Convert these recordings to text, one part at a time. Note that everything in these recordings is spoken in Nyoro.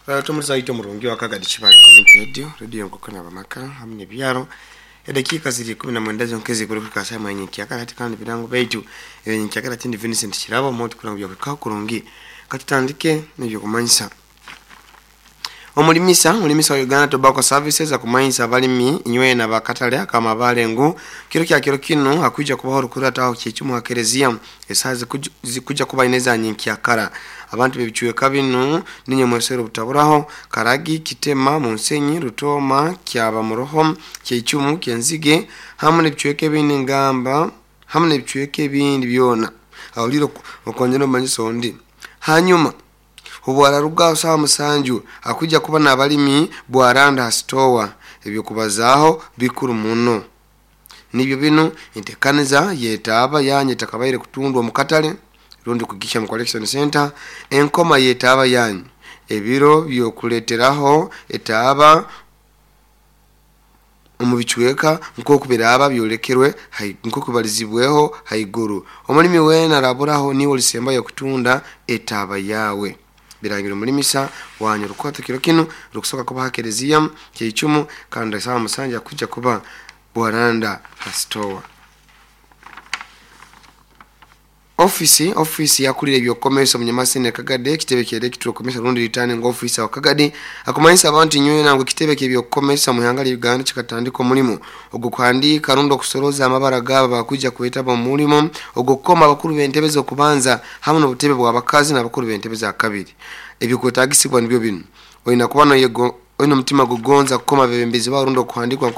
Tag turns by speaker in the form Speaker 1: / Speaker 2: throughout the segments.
Speaker 1: Tumuliza omurungi wa Kagadi Kibali Community Radio, radio nkoko nabamaka hamwe nebyaro. Edakiika ziri 19 zonkezi kuri kufika saa mwenye kyakala hati kandi birango baitu enye kyakala tindi Vincent Kirabo moti kurango bya kukaho kurungi. Katutandike n'ebyo kumanyisa. Omulimisa wa Uganda Tobacco Services akumanyisa abalimi inywe na bakatale akamabale ngu kiro kya kiro kino hakuja kubaho rukurata aho kyechumu hakerezia esaha zikuja kuba ineza nyinkya abantu bebichweka bino ninye mwesero butaburaho Karagi, Kitema, Munsenyi, Rutoma, Kyaba Muroho, Kyechumu, Kyenzige hamwe nebichweka ebindi ngamba hamwe nebichweka ebindi byona awuliro okonjera omanyiso ndi hanyuma obwararuga sawa musanju akuja kuba n'abalimi bwaranda hasitowa ebyo kubazaaho bikuru muno nibyo bino entekaniza yetaaba yanyu etakabaire kutundwa mu katale rundi kugisha mu collection center enkoma yetaaba yanyu ebiro byokuleteraho etaaba omu bichweka nkoku biraba byolekerwe nkoku balizibweho haiguru. Omulimi wena araburaho niwe olisemba yo kutunda etaaba yawe. Birangiro mulimisa wanyu rukwata kiro kino rukusoka kuba hakerezia keichumu kandi sawa musanja kuja kuba bwaranda hastowa. Ofisi yakulira ebyokomesa omunyamasene Kagadi ekitebe kya electoral commission rundi returning officer wa Kagadi akumanyisa abantu nywe nango ekitebe ky'ebyokomesa mu ihanga lya Uganda kikatandika omulimu ogwo kuhandika rundi okusoroza amabara gabo bakuja kwetaba mu mulimu ogwo kukoma abakuru b'entebe z'okubanza hamwe n'obutebe bw'abakazi n'abakuru b'entebe za kabiri. Ebikwetagisibwa nibyo bino: olina kuba noyego olina omutima gugonza kukoma bebembezi bawo rundi okuhandikwa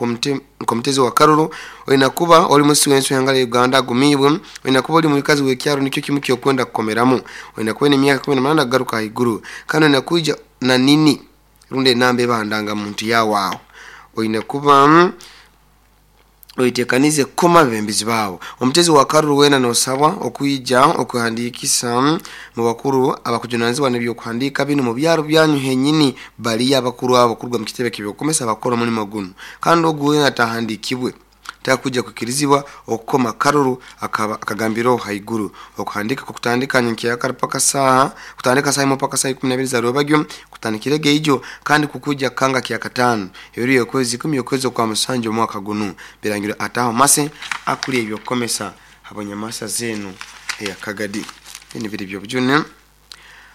Speaker 1: nkomutezi wa karuru, olina kuba oli musi w'ensi w'ihanga lya Uganda agumibwe, olina kuba oli mukazi w'ekyaro nikyo kimu kyokwenda kukomeramu, olina kuba olina emyaka 18 kugaruka haiguru, kandi olina kwija na nini rundi enamba ebandanga muntu yawe aho, olina kuba oitekanize kukoma bebembezi bawo. Omutezi wa karuru wena nosabwa okwija okuhandikisa mu bakuru abakujunanizibwa n'ebyokuhandika bino mu byaro byanyu henyini baliyo abakuru abo kuruga mu kitebe ky'ebyokomesa bakora omulimo guno, kandi ogu wena atahandikibwe takuja kukirizibwa okukoma karuru akagambiraho haiguru. Okuhandika kukutandika nyenkyakara paka saha kutandika saha imwe paka saha 12 za rwebagyo kutandikire geijo kandi kukuja kanga kya katano ebiro yokwezi 10 yokwezi kwa musanju omwaka gunu. Birangiro ataho mase akuli ebyokomesa habonyamasa zenu eya Kagadi. Bino biri byobujune.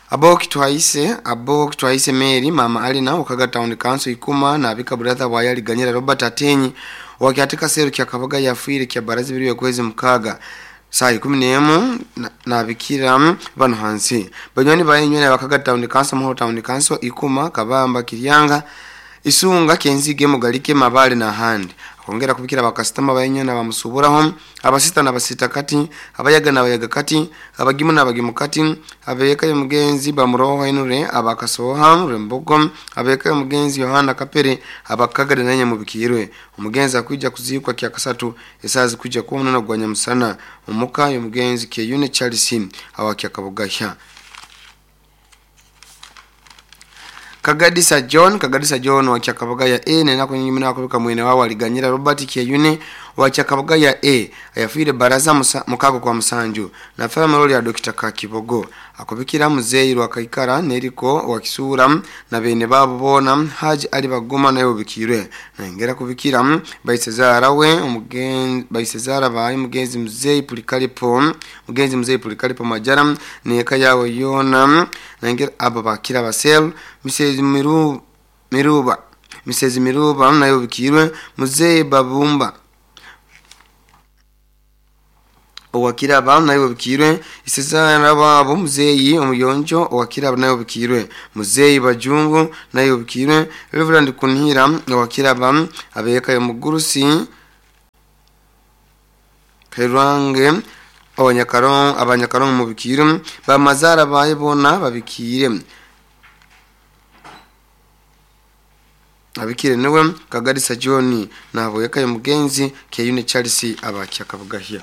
Speaker 1: Abo kitwaise Mary mama Alina Okaga Town Council ikuma na abika brother wa yali Ganyera Robert Atenyi wakiatika seru kya Kabaga yafuire kya barazi biri yokwezi mukaga saa 11 na bikira bano hansi banywani bayenywe na Bakaga Town Council, Muhoro Town Council, Ikuma, Kabamba, Kiryanga, Isunga, Kenzige, Mugalike, Mabale na handi. Akongera kubikira bakasitama bayenywe na bamusuburaho abasita na basita kati abayaga na bayaga kati abagimu na bagimu kati abeka mugenzi bamuroho henure abakasoha rembogo abeka mugenzi Yohana Kapere abakagade nanye mubikirwe. Umugenzi akuja kuzikwa kya kasatu esazi kuja kumunana gwa nyamusana omuka yo mugenzi Keyune Charles awakya Kabugahya. Kagadisa John wa Kyakabagaya A nena kunyimina kubika mwene wao aliganyira Robert Keyune wa Kyakabagaya A ayafire baraza mukago kwa musanju na family ya Dr. Kakibogo akubikira muzeyi rwa Kaikara neriko wa Kisura na bene babo bona Haji Ali Bagoma nayo bikirwe na ngera kubikira baisezara we umugenzi baisezara bayi mugenzi muzeyi Pulikalipo mugenzi muzeyi Pulikalipo Majara neka yawe yona na ngera aba bakira basel Mrs. Miruba Mrs. Miruba nayo bikirwe muzeyi Babumba owakiraba nayo bikirwe isezana babo muzeyi omuyonjo owakiraba nayo bikirwe muzeyi Bajungu nayo bikirwe Reverend Kunhira owakiraba abeka yomugurusi Kairange abanyakaron mu bikirwe bamazara bayibona babikire abikire niwe Kagadisa John nabo yakaye mugenzi Keyune Charles abakya Kabugahya.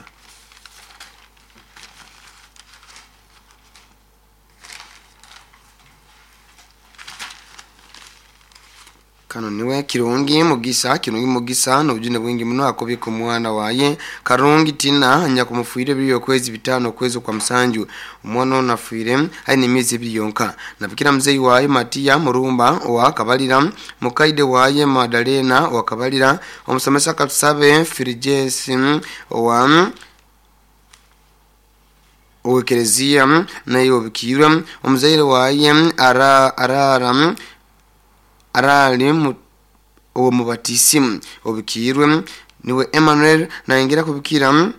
Speaker 1: Kano niwe Kirungi Mugisa. Kirungi Mugisa n'obujune bwingi muno akubika omwana waye Karungi Tina nyakumufwire ebiri okwezi 5 okwezi kwa musanju. Omwana ono afiire aine emyezi 2 yonka. Nabikira muzeyi waye Matiya Murumba wa Kabalira, mukaide waye Madalena wa Kabalira, omusomesa Katusabe Firigesi wa owekereziya naye obikirwe, omuzaire waye arara arali omubatisimu obikirwe niwe Emmanuel. Naingira kubikira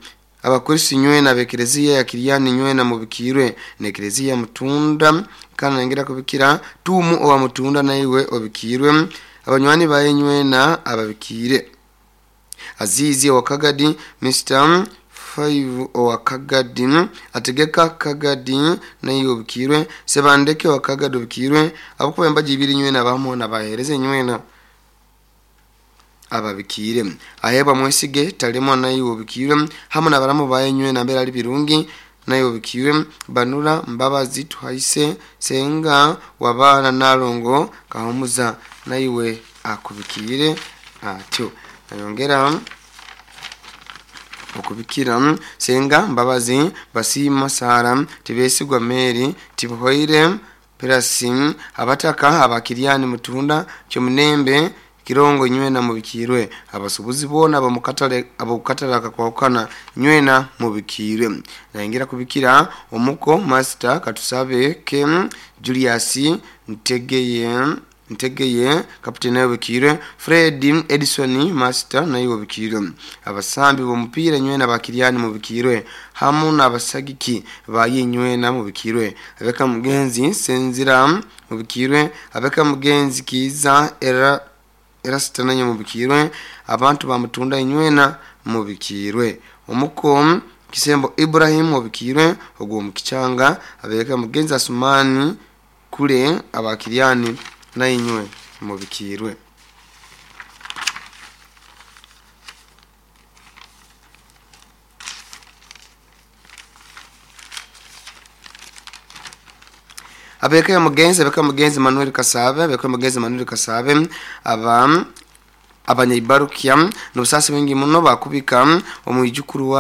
Speaker 1: abakristo nywena abekereziya ya Kiriani nywena mubikirwe nekereziya Mutunda. Kana naingira kubikira tumu owa Mutunda naiwe obikirwe, abanywani baye nywena ababikire. Azizi wa Kagadi, Mr 5 owa Kagadi, ategeka Kagadi naye obikirwe, Sebandeke wa Kagadi obikirwe, abakuba embaji ibiri nywena abamu nabahereze nywena ababikire. Ahebwa Mwesige Talemwa naye obikirwe, hamu nabaramu baye nywena mbere ali birungi naye obikirwe, Banura Mbabazi Tuhaise Senga wabana Nalongo Kahumuza naiwe akubikire atyo. Nayongera okubikira Senga Mbabazi Basima Sara Tibesigwa Mary Tibuhoire Perasim abataka abakiriani Mutunda Kyomunembe Kirongo nywena mubikirwe, abasubuzi bona abamukatale abukatala kakwakana nywena mubikirwe. Naingira kubikira omuko Master Katusabe Kem Julius Ntegeye kapiteni naye obikirwe, Fred Edison Master naye obikirwe, abasambi b'omupiira nywena bakiriani mubikirwe, hamu n'abasagiki baye nywena mubikirwe, abeka mugenzi Senzira mubikirwe, abeka mugenzi Kiza era Erasitananya mubikirwe, abantu bamutunda nywena mubikirwe, omuko Kisembo Ibrahim mubikirwe ogwo mukichanga, abeka mugenzi Asumani kule abakiriani na inywe mubikirwe. Abeka mugenzi Manuel Kasabe, abeka mugenzi Manuel Kasabe aba abanyaibarukia n'obusasi bwingi muno bakubika omwijukuru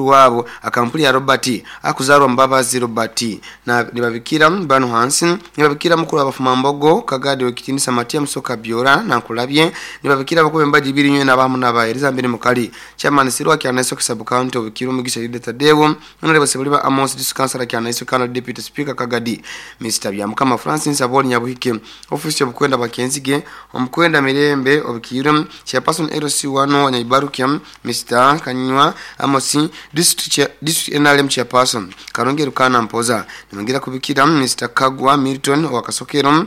Speaker 1: wabo akampuli ya Robert akuzarwa Mbabazi Robert na nibabikira bano hansi, nibabikira mukuru abafumambogo Kagadi wekitinisa Matia Musoka Biora na nkulabye, nibabikira bakube mbaji ibiri nywe nabamu nabahereza mbere mukali chairman Sirwa Kyanaiso Kisabu County obikiro Mugisha Yuda Tadeo honorable Sebuliba Amos District Councilor Kyanaiso Kana Deputy Speaker Kagadi Mr. Byamukama Francis Aboli Nyabuhike office y'obukwenda bakenzige omukwenda Mirembe obikirwe chairperson LC1 Wanyaibarukia Mr. Kanywa Amosi district NRM chairperson Karungi Rukana Mpoza. Nimungira kubikira Mr. Kagwa Milton wakasokero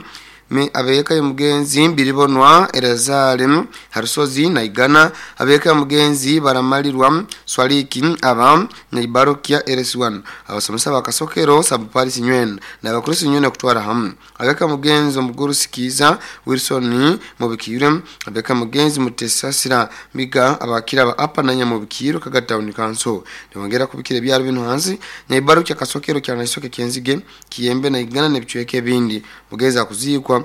Speaker 1: abeka mugenzi Biribonwa Elazare Harusozi na Igana, abeka mugenzi Baramalirwa Swaliki aba Nyaibarukia LC1 abasomesa bakasokero Sabuparis nywena na abakristo nywena kutwara hamu, abeka mugenzi omuguru Sikiza Wilson mubikire, abeka mugenzi Mutesasira Miga abakira ba apa na nyamubikiro Kagadi Town Council. Niwongera kubikira byaro bino hansi Nyaibarukia Kasokero kya Naisoke Kenzige Kiyembe na Igana nebicweke bindi mugeza kuzikwa